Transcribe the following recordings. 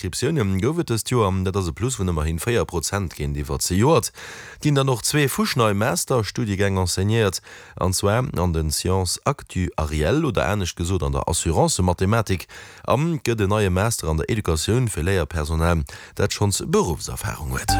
Inscriptioune gouf et dëst Joer, dat ass e Plus vun ëmmerhin 4 Prozent géintiwwer zejoert. Et ginn dann och zwee fuschnei Master-Studiegäng enseignéiert, an zwar an de Sciences actuarielles oder anescht gesot an der Assurancemathematik an et gëtt en neie Master an der Educatioun fir Léierpersonal, dat schonns Beruffserfarung huet.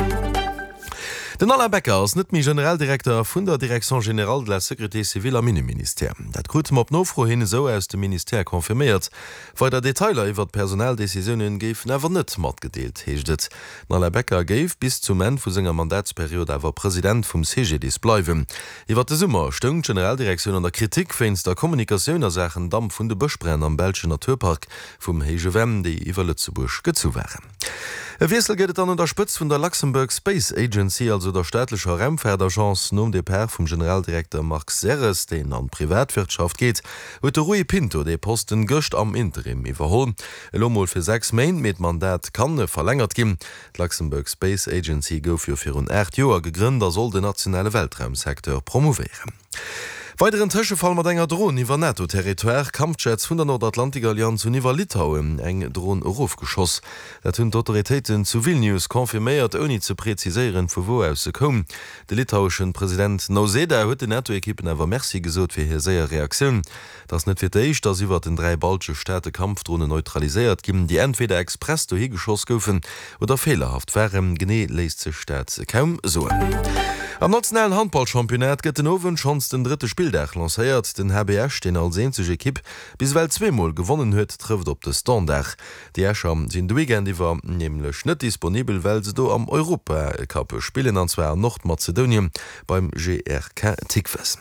Den Alain Becker ass net méi Generaldirekter vun der Direction générale de la sécurité civile am Inneministère. Dat krute mer op Nofro hin esou aus dem Ministère confirméiert. Weider Detailer iwwert d'Personaldecisioune géifen awer net matgedeelt, heescht et. Den Alain Becker géif bis zum Enn vu senger Mandatsperiod awer President vum CGDIS bleiwen. Iwwer de Summer stoung d'Generaldirektioun an der Kritik wéinst der Kommunikatioun a Saachen Damp vun de Bëschbränn am belschen Naturpark vum Héije Venn, déi iwwer Lëtzebuerg gezu waren. E Wiessel gëtt et dann un der Spëtzt vun der Luxembourg Space Agency, also der staatlecher Raumfaartagence. Nom Depart vum Generaldirekter Marc Serres, deen an d'Privatwirtschaft geet, huet de Rui Pinto dee Posten gëscht am Interim iwwerholl. Elo mol fir 6 Méint, mee d'Mandat kann verlängert ginn. D'Luxembourg Space Agency gouf jo virun 8 Joer gegrënnt a soll den nationale Weltraumsecteur promouvéieren. Weideren Tëschefall mat enger Dron iwwer NATO-Territoire, Kampfjets vun der Nordatlantikallianz hunn iwwer Litauen eng Dron erofgeschoss. Dat hunn d'Autoritéiten zu Vilnius confirméiert, ouni ze preziséieren, vu wou aus se koum. De litaueschen President Nauseda huet den NATO-Ekippen awer Merci gesot fir hir séier Reaktioun. Et ass net fir d'éischt, datt iwwert den 3 baltesche Staate Kampfdronen neutraliséiert ginn, déi entweder express dohi geschoss goufen oder feelerhaft waren. Genee léisst sech dat kaum soen. Am nationalen Handballchampionnat gëtt den Owend schonns den drëtte Spilldag lancéiert. Den HB Esch, deen als eenzeg Ekipp bis ewell zweemol gewonnen huet, trëfft op de Standard. Déi Escher sinn de Weekend iwwer nämlech net disponibel, well se do am Europacup spillen, an zwar an Nordmazedonien beim GRK Tikves.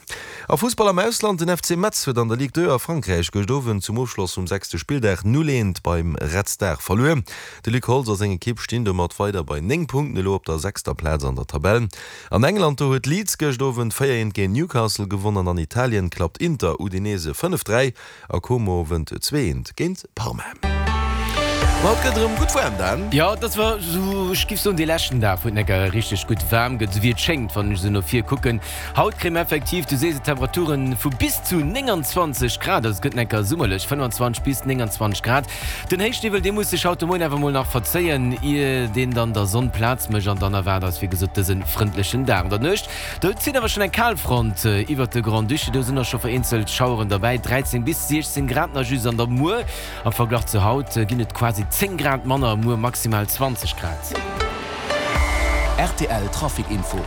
A Fussball am Ausland, Den FC Metz huet an der Ligue 2 a Frankräich gëscht Owend zum Ofschloss vum sechste Spilldag 0, 1 beim Red Star verluer. De Luc Holtz a seng Ekipp stinn domat weider bei 9 Punkten, elo op der sechster Plaz an der Tabell. An England, do huet Leeds gëscht Owend 4, 1 géint Newcastle gewonn an an Italien klappt Inter Udinese 5, 3. A Como wënnt 2, 1 géint Parma. Ma et gëtt erëm gutt waarm, Dan. Jo, et ass zwar esou, ech giff soen dee leschten Dag, wou et necker richteg gutt waarm gëtt, esou wéi et schéngt, wann ech esou no vir kucken. Haut kréie mer effektiv, du sees et, Temperaturen vu bis zu 29 Grad, also et gëtt necker summerlech, 25 bis 29 Grad. Den Héichniwwel, dee muss sech haut de Moien awer mol nach verzéien, ier deen dann der Sonn Plaz mécht an dann erwaart eis wéi gesot dëse frëndlechen Dag. An der Nuecht Do zitt awer schonn eng Kalfront iwwert de Grand-Duché, do sinn och scho vereenzelt Schaueren derbäi. 13 bis 16 Grad nach just an der Muer. Am Verglach zu haut ginn et quasi 10 Grad manner, muer maximal 20 Grad. Rtl Trafic Info.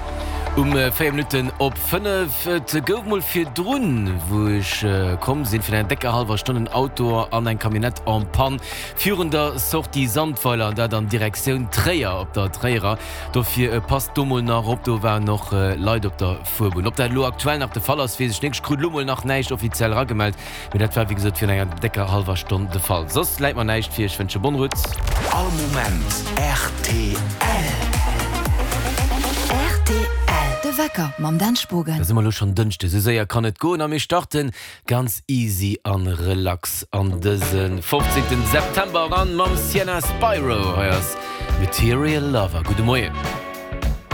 Um 4 Minutten op 5. Et gouf mol virdrun, wou ech komm sinn, virun enger décker hallwer Stonn en Auto an eng Camionnette en panne virun der Sortie Sandweiler, an dat an Direktioun Tréier op der Tréierer. Dofir passt do mol nach op, do waren och Leit op der Fuerbunn. Ob dat elo aktuell nach de Fall ass, weess ech net. Ech krut elo mol nach näischt offiziell eragemellt, mee dat war wéi gesot virun enger décker hallwer Stonn de Fall. Soss läit mer näischt vir. Ech wënsche bonne route. All Moment rtl. Rtl, De Wecker mam Dan Spogen. Da si mer elo schonn Dënschde, sou séier kann et goen a mir starten Ganz easy an relax an dëse 15 September eran mam Sienna Spiro. Hei ass Material Lover. Gudde Moien.